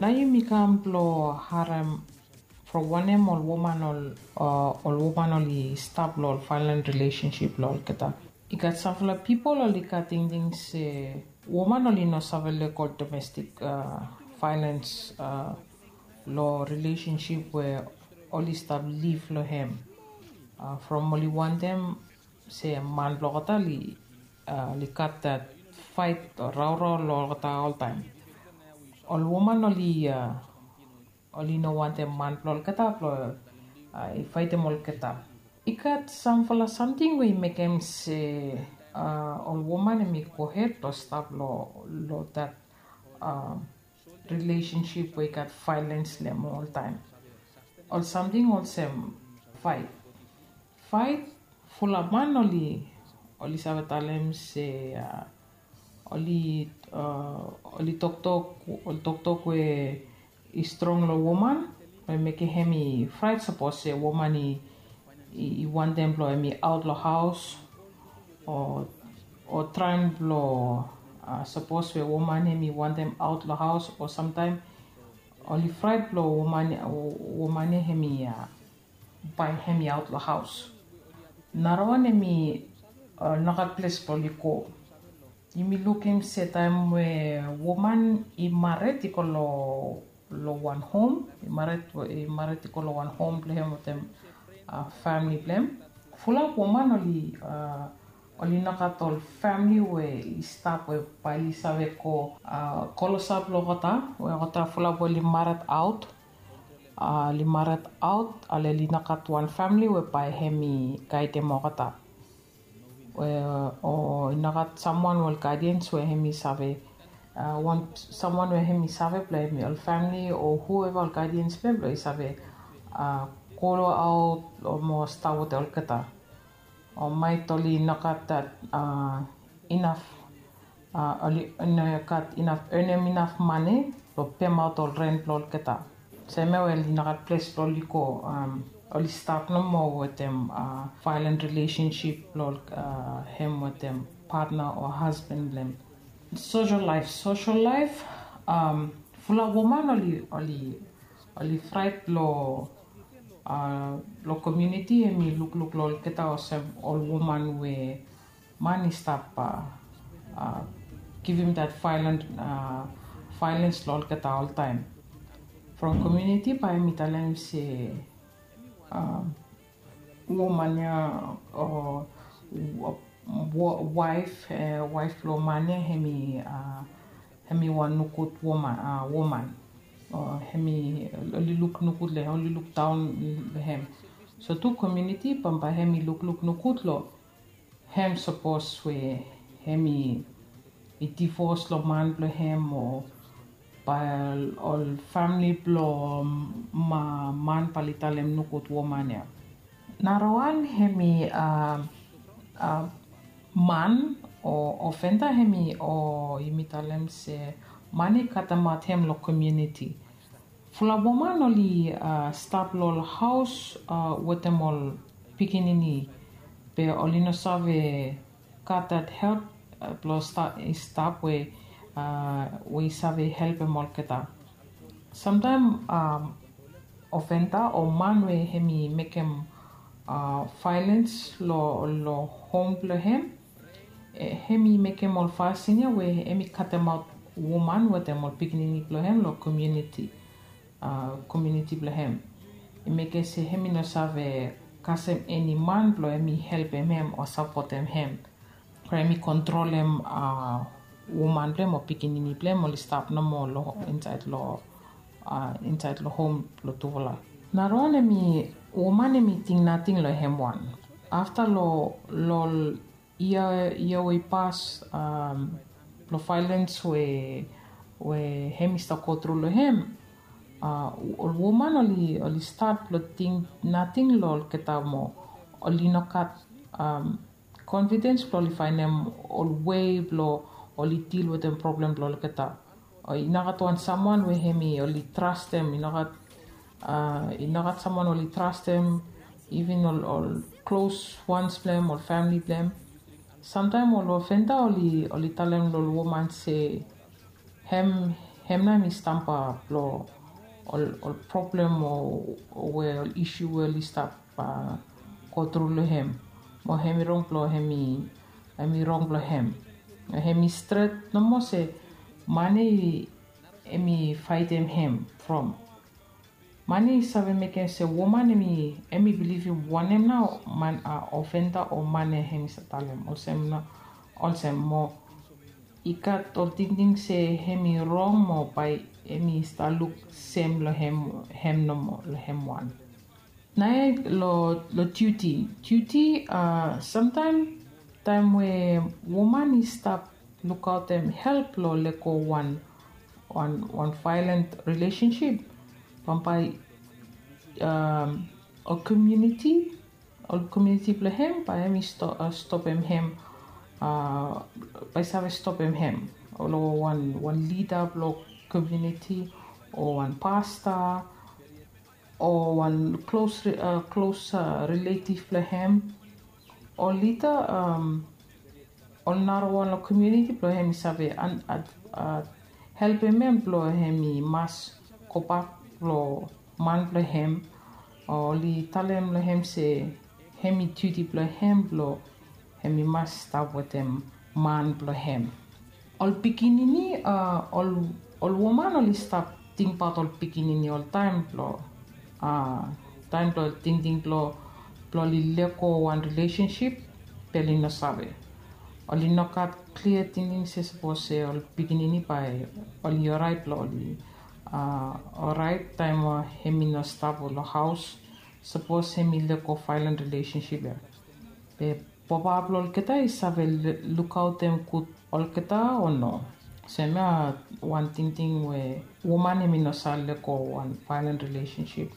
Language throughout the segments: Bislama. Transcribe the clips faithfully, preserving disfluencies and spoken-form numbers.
Nao yumi kam blong harem from wanem ol woman ol ol woman oli stap long ol violent relationship long olgeta. I gat sampela pipol oli gat tingting se woman oli no save lego domestik violens long relationship we oli stap liv long hem. From oli wantem se man blong olgeta oli gat dat fait o raurau long olgeta oltaim. Ol woman oli oli no wantem man blong olgeta blong i faitim olgeta. I gat sampela samting we i mekim se ol woman em i gohed blong stap long dat relationship we i gat violens long em oltaim. Ol samting olsem fait. Fait, fulap man oli oli save talem se oli oli toktok oli toktok we i strong long woman we mekim hem i frait sapos se woman i i wantem blong hem i aut long haus o o traem blong sapos we woman hem i wantem aut long haus o samtaem oli frait blong woman woman ya hem i bae hem i aut long haus. Narawan hem i nogat ples blong oli go. Yumi lukim se taem we woman i mared i go long long wan hom i mared i go long wan hom blong hem wetem famili blong hem. Fulap woman oli oli nogat ol famili we i stap we bae oli save go klosap long olgeta we olgeta fulap oli mared aut. Oli mared aut ale oli nogat wan famili we bae hem i gaidem olgeta. O i nogat samwan we ol gaidians we hem i save wan samwan we hem i save blong hem i ol famili o hueva ol gaidians blong hem blong i save go aut o mo stap wetem olgeta. O maet oli nogat dat inaf oli no gat inaf enem inaf mane blong pemaot ol ren blong olgeta. Semia we oli nogat ples blong oli go oli stap nomo wetem violent relationship blong hem wetem patna o hasban blong hem. Sosel laef sosel laef fula woman oli oli oli frait blong blong komiuniti em i lukluk long olgeta olsem ol woman we man i stap givim dat violens long olgeta oltaem. From komiuniti bae mi talem se woman ya o waef waef blong man ya em i em i wan nogud woman. Em i oli luk nogud long em oli luk daon long em. So tu komiuniti bambae em i lukluk nogud long em sapos we em i divos long man blong em o bae ol famili blong man bae oli talem nogud woman ya. Narawan em i man o ofenda em i o yumi talem se man i katemaot em long komiuniti. Fula woman oli stap long ol haos wetem ol pikinini be oli no save gat dat help blong i stap we we i save helpem olgeta. Samtaem ofenda o man we em i mekem violens long hom blong em em i mekem ol fasin ya we em i katemaot woman wetem ol pikinini blong em long komiuniti komiuniti blong em. I mekem se em i no save kasem eni man blong em i helpem em o sapotem em. Em i kontrolem woman blong em o pikinini blong em oli stap nomo long insaed long insaed long hom blong tufala. Narawan em i woman em i ting nating long em wan. Afta long long ol yia yia we i pas blong vaelens we we em i stap gotru long em. Ol woman oli oli stat blong ting nating long olgeta moa. Oli no gat konfidens blong oli faenem ol wei blong oli dil wetem problem blong olgeta. I no gat wan samwan we em i oli trastem i no gat i no gat samwan oli trastem. Iven ol ol klos wans blong em ol famili blong em. Samtaem ol ofenda oli oli talem long ol woman se em Hem nao hem i stamba blong ol problem o we ol isu we oli stap go tru long hem. Mo hem i rong blong hem i rong blong hem. Hem i stret nomo se man ya hem i faetem hem from man ya i save mekem se woman hem i bilivim wanem nao man ofenda o man ya hem i save talem olsem nao olsem mo i gat ol tingting se hem i rong mo bae hem i stap luk sem long hem nomo long hem wan. Nae long diuti diuti samtaem taem we woman i stap lukaotem help long lego wan wan vaelan rilesensip bambae ol komiuniti ol komiuniti blong hem bae hem i stopem hem bae i save stopem hem long wan lida blong komiuniti o wan pasta o wan klos klos riletiv blong hem o lida ol narawan long komiuniti blong hem i save helpem hem blong hem i mas gobak long man blong hem o oli talem long hem se hem i diuti blong hem blong hem i mas stap wetem man blong hem. Ol pikinini a ol woman oli stap tingbaot ol pikinini oltaem blong a taem blong tingting blong blong oli lego wan rilesensip be oli no save oli no gat klia tingting se sapos se ol pikinini bae oli oraet blong oli a oraet taem we hem i no stap long haos sapos hem i lego vaelan rilesensip ya be papa blong olgeta i save lukaotem gud olgeta o no? Olsem ya wan tingting we woman hem i no save lego wan vaelan rilesensip.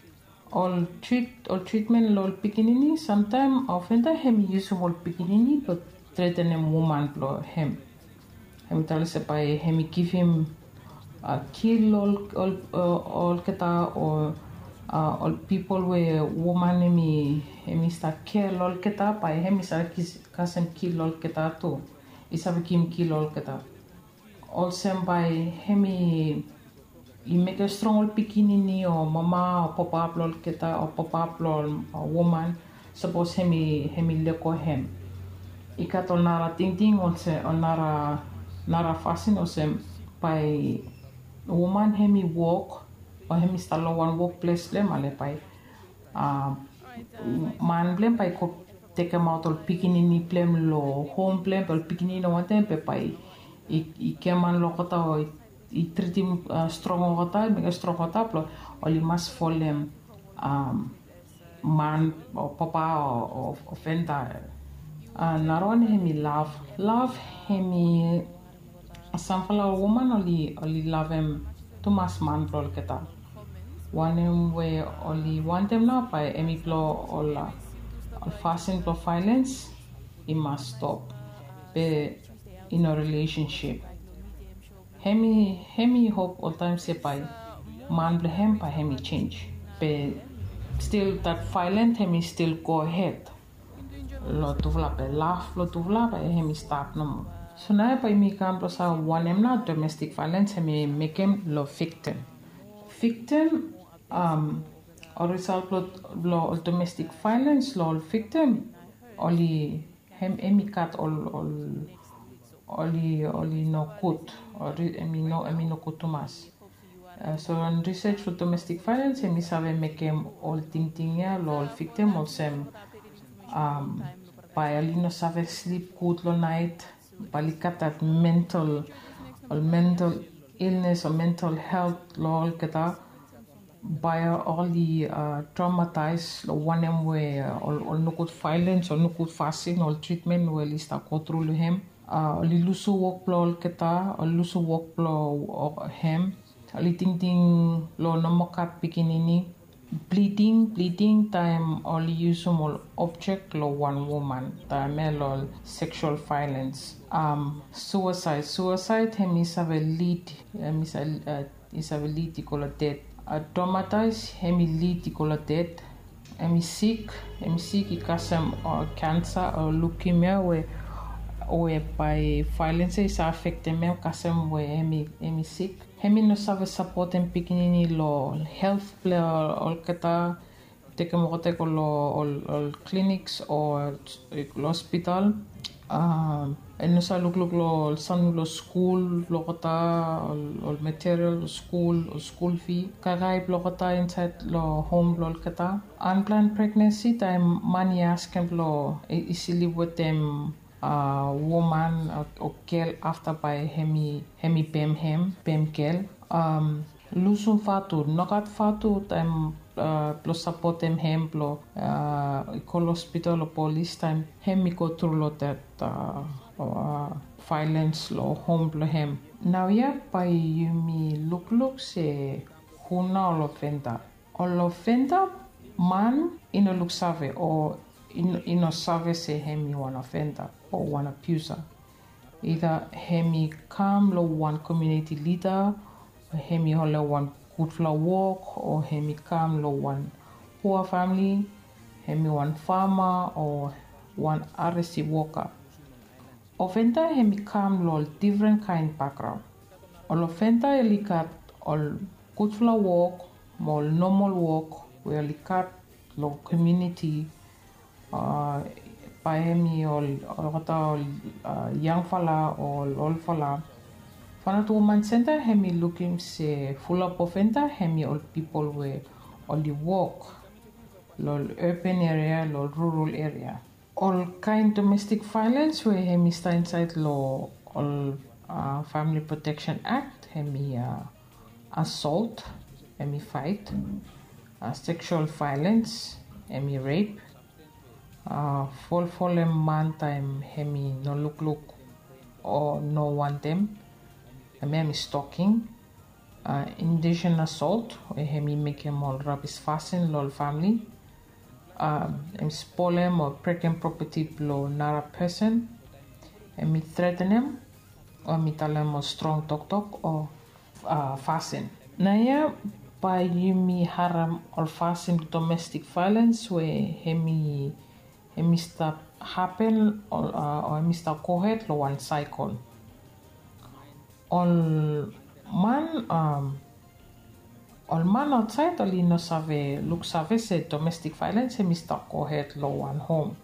Ol tritmen long ol pikinini samtaem ofenda hem i yusum ol pikinini blong tretenem woman blong hem hem i talem se bae hem i givim kil olgeta o ol pipol we woman hem i stap kea long olgeta bae hem i save kasem kil olgeta tu i save givim kil olgeta. Olsem bae hem i mekem strong ol pikinini o mama o papa blong olgeta o papa blong ol woman sapos hem i lego hem. I gat ol nara tingting olsem ol nara fasin olsem bae woman hem i wok o hem i stap long wan wokples blong hem ale bae man blong hem bae i go tekemaot ol pikinini blong hem long hom blong hem be ol pikinini no wantem be bae i giaman long olgeta o i tritim strong olgeta mekem strong olgeta blong oli mas folem man o papa o ofenda. Narawan hem i lav lav hem i samfala ol woman oli lavem tumas man blong olgeta. Wanem we oli wantem nao bae hem i blong ol fasin blong vaelens i mas stop be i no rilesensip. Hem i hem i hop oltaem se bae man blong hem bae hem i jenj be stil dat vaelan hem i stil gohed long tufala be laf long tufala bae hem i stap nomo. So nao bae yumi kam blong save wanem nao domestik vaelans hem i mekem long viktim. Viktim ol risalt blong ol domestik vaelans long ol viktim oli hem i gat ol ol oli oli nogud. Em i nogud tumas. So long risej blong domestik vaelans em i save mekem ol tingting ya long ol viktim olsem bae oli no save slip gud long naet. Bae oli gat dat mental ol mental ilnes o mental helt long olgeta. Bae oli tromataes long wanem we ol nogud vaelans ol nogud fasin ol tritmen we oli stap gotru long hem. Oli lusim wok blong olgeta ol lusim wok blong hem. Oli tingting long nomo gat pikinini. Bliding bliding taem oli yusim ol objek long wan woman taem ya long ol seksual vaelans. Suasaed suasaed hem i save lid hem i save lid i go long ded. Tromataes hem i lid i go long ded. Hem i sik hem i sik i kasem kansa o lukimia we we bae vaelens ya i save afektem hem kasem we hem i sik. Hem i no save sapotem pikinini lo helt blong olgeta, tekem olgeta i go lo ol, ol clinics o lo hospital. Um, i no save lukluk lo ol samting blo skul blo olgeta, ol, ol material blo skul, ol skul fee, kaikai blo olgeta insaed lo hom blo olgeta. Unplanned pregnancy, taem man i askem blo i, i slip wetem uh, woman o, o gel afta bae hem i, hem i bem hem, bem gel. Um, lusum vatu, nogat vatu taem uh, blo sapotem hem blo uh, i go lo hospital o polis taem hem i go tru lo that uh, uh, violence lo hom blo hem. Naoia bae yumi lukluk se hu nao ol ofenda. Ol ofenda, man i no luksave o i no, i no save se hem i wan ofenda o wan abuser. Either hem i kam lo wan community leader, o hem i holem wan gudfala wok, o hem i kam lo wan pua famili, hem i wan fama o wan R S C woka. Ofenda hem i kam lo ol difren kaen bakgraon. Ol ofenda oli gat ol gudfala wok mo ol nomol wok we oli gat lo komuniti, uh, bae hem i ol, olgeta ol uh, yangfala o ol olfala. Fanat Woman Center hem i lukim se fulap ofenda hem i ol pipol we oli wok lo ol urban area, lo ol rural area. Ol kaen domestic violence we hem i stap insaed lo ol uh, Family Protection Act, hem i uh, assault, hem i faet, uh, sexual violence, hem i rape, uh, folfolem man taem hem i no lukluk o no wantem, hem i stalking, uh, indecent assault we hem i mekem ol rabis fasin lo ol famili, um, hem i spolem o brekem property blo nara person, hem i threatenem o hem i talem ol strong toktok o uh, fasin. Naoia bae yumi harem ol fasin domestic violence we hem i, hem i stap hapen o, uh, o hem i stap gohed lo wan cycle. Ol man, um, ol man aotsaed oli no save luksave se domestic violence hem i stap gohed lo wan hom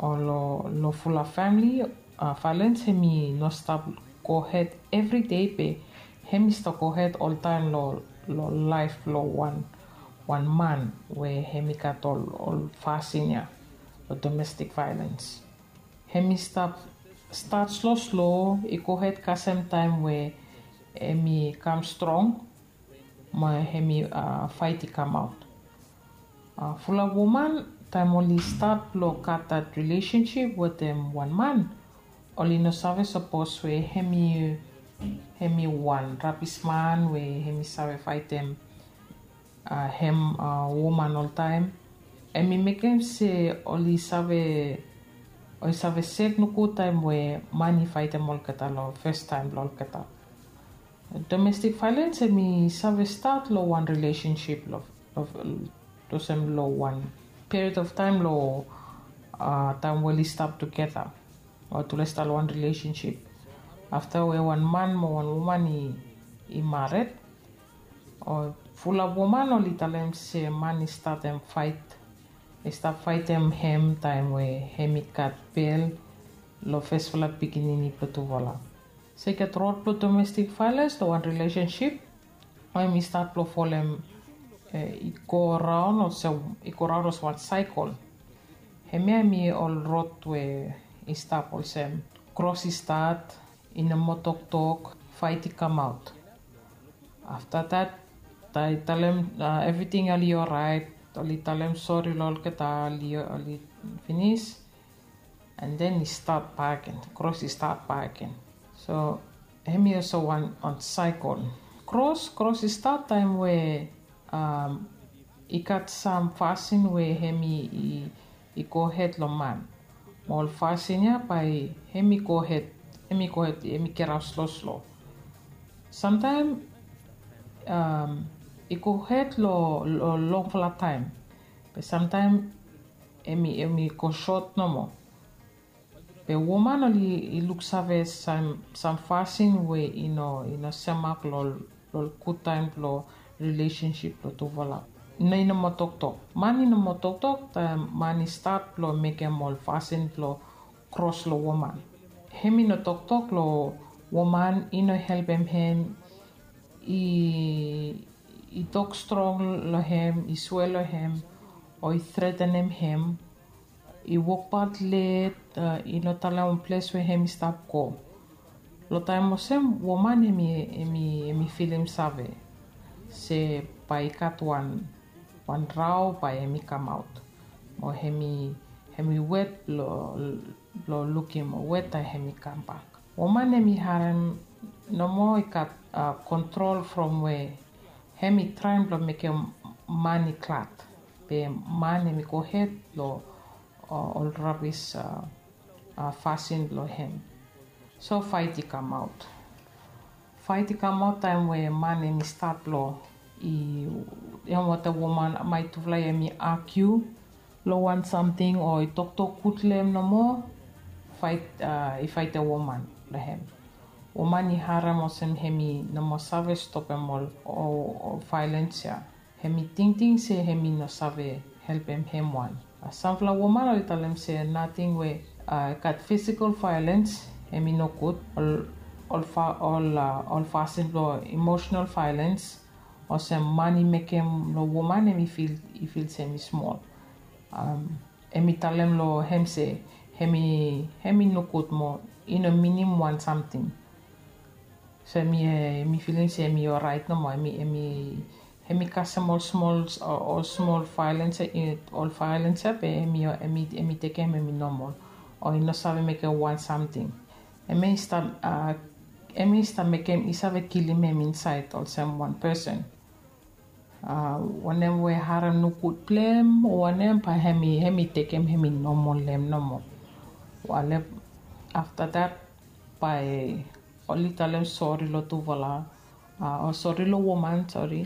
o lo, lo fulap famili. Uh, violence hem i no stap gohed evri dei be hem i stap gohed oltaem lo, lo laef blo wan, wan man we hem i gat ol, ol fasin ya lo domestic violence. Hem i stap stat sloslo, i gohed kasem taem we hem i kam strong mo hem i uh, faet i kamaot. Uh, fulap woman taem oli stat blo gat that relationship wetem wan man, oli no save sapos we hem i, hem i wan rabis man we hem i save faetem uh, hem uh, woman oltaem. Hem i mekem se oli save, oli save sek nogud taem we man i faetem olgeta lo fes taem blo olgeta. Domestic violence hem i save stat lo wan relationship lo, lo, olsem lo wan period of time lo uh, taem we oli stap tugeta o tule stap lo wan relationship. Afta we wan man mo wan woman i, i mared, o fulap woman oli talem se man i statem faet, i stap faetem hem taem we hem i gat bel lo fesfala pikinini blo tufala. Se i gat rod blo domestic violence lo wan relationship, o hem i stat blo folem, eh, i go raon olsem, i go raon olsem wan cycle. Hemia hem i ol rod we i stap olsem, kros i stat, i no moa toktok, faet i kamaot. Afta that, i talem uh, evriting oli oraet, oli talem sori lo olgeta, oli, oli finis. And then i stat bakegen, kros i stat bakegen. So hem i olsem wan, wan cycle. Kros, kros i stat taem we um, i gat sam fasin we hem i, i, i gohed lo man. Mo ol fasin ya bae hem i gohed, hem i gohed, hem i geraot sloslo. Samtaem um, i gohed lo, lo longfala taem. Be samtaem hem i, hem i go sot nomo. Be woman oli i luksave sam sam fasin we i no i no semak lo lo gud taem blo rilesensip blo tufala. No i no moa toktok. Man i no moa toktok taem man i stat blo mekem ol fasin blo kros lo woman. Hem i no toktok lo woman i no helpem hem. I i tok strong lo hem, i swea lo hem, o i tretenem hem. I wokbaot let, i no talem wan ples we hem i stap go. Lo taem olsem woman hem i hem i hem i filim save se bae i gat wan wan rao bae hem i kamaot, o hem i hem i wet blo blo lukim weta hem i kambak. Woman hem i harem nomo i gat kontrol from we hem i traem blo mekem man i glad. Be man hem i gohed lo ol rabis fasin blo hem. So faet i kamaot. Faet i kamaot taem we man hem i stat blo i hem wata woman mai tufala hem i agiu lo wan samting o i toktok gud lo hem nomo. Faet i faetem woman blo hem. Woman i harem olsem hem i no moa save stopem ol ol vaelens ya. Hem i tingting se hem i no save helpem hem wan. Samfala woman oli talem se nating we i gat fisikal vaelens hem i nogud. Ol ol fasin blo emosenal vaelens olsem man i mekem lo woman hem i fil i fil se hem i smol. Hem i talem lo hem se hem i hem i nogud mo i no minim wan samting. So hem i hem i filim se hem i oraet nomo hem i hem i hem i kasem ol smol ol smol vaelens ya ol vaelens ya be hem i hem i hem i tekem hem i nomol. O i no save mekem wan samting. Hem i stap a hem i stap mekem i save kilim hem insaed olsem wan pesen. A wanem we harem nogud blo hem o wanem bae hem i hem i tekem hem i nomol lo hem nomo. Wale afta dat bae oli talem sori lo tufala. A o sori lo woman sori.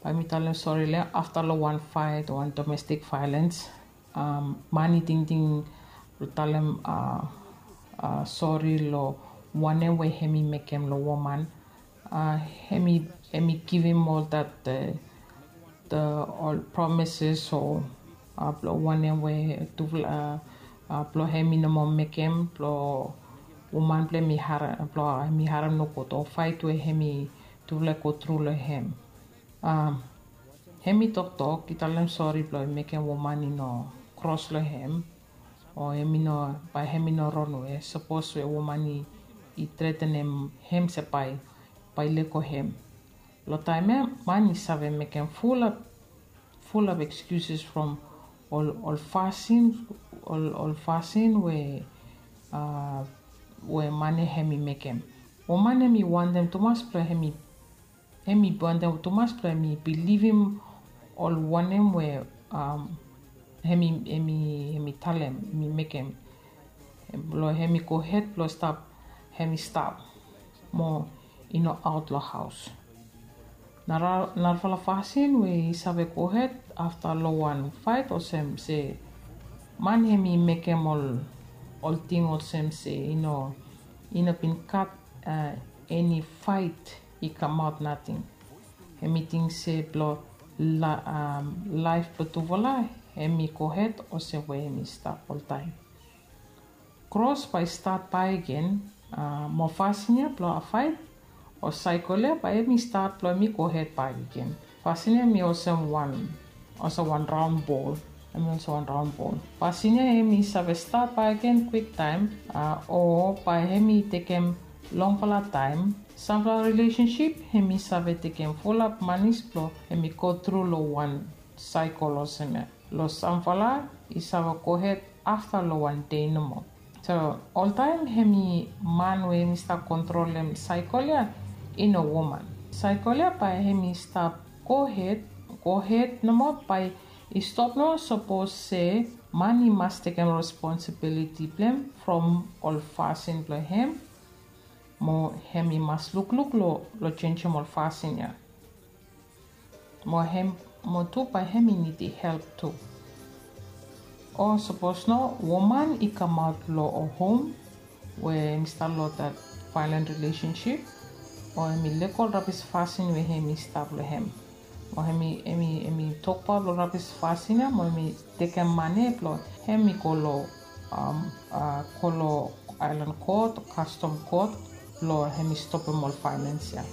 Bae mi talem sori lo hem afta lo wan faet o wan domestik vaelens. Man i tingting lo talem a sori lo wanem we hem i mekem lo woman. A hem i hem i givim ol dat ol promises o a blo wanem we tufala a blo hem i no moa mekem blo woman blo hem i harem blo hem i harem nogud o faet we hem i tufala i go tru lo hem. A hem i toktok i talem sori blo i mekem woman i no kros lo hem. O hem i no bae hem i no ronwe sapos we woman i tretenem hem se bae bae i lego hem. Lo taem ya man i save mekem fulap fulap ekskuses from ol ol fasin ol ol fasin we a we man ya hem i mekem. Woman hem i wantem tumas blo hem i hem i wantem tumas blo hem i bilivim ol wanem we a hem i hem i hem i talem hem i mekem. Blo hem i gohed blo stap hem i stap mo i no aot lo haos. Narafala fasin we i save gohed afta lo wan faet olsem se man hem i mekem ol ol ting olsem se i no i no bin gat eni faet i kamaot nating. Hem i ting se blo laef blo tufala hem i gohed olsem we hem i stap oltaem. Kros bae i stat bakegen mo fasin ya blo faet o saekol ya bae hem i stat blo hem i gohed bakegen. Fasin ya hem i olsem wan olsem wan raon bol. Hem i olsem wan raon bol. Fasin ya hem i save stat bakegen kwiktaem o bae hem i tekem longfala taem. Samfala rilesensip hem i save tekem fulap manis blo hem i go tru lo wan saekol olsem ya. Lo samfala i save gohed afta lo wan dei nomo. So oltaem hem i man we hem i stap kontrolem saekol ya i no woman. Saekol ya bae hem i stap gohed gohed nomo bae i stop nomo sapos se man i mas tekem responsibiliti blo hem from ol fasin blo hem. Mo hem i mas lukluk lo lo jenisim ol fasin ya. Mo hem mo tu bae hem i nidim help tu. O sapos no woman i kamaot long ol hom we hem i stap long dat violent relationship, o hem i lego ol rabis fasin we hem i stap long hem, o hem i hem i hem i tokbaot long rabis fasin ya, o hem i tekem mane blong hem i go long um, uh, go long aelan kot, kastom kot, blong hem i stopim ol violens ya.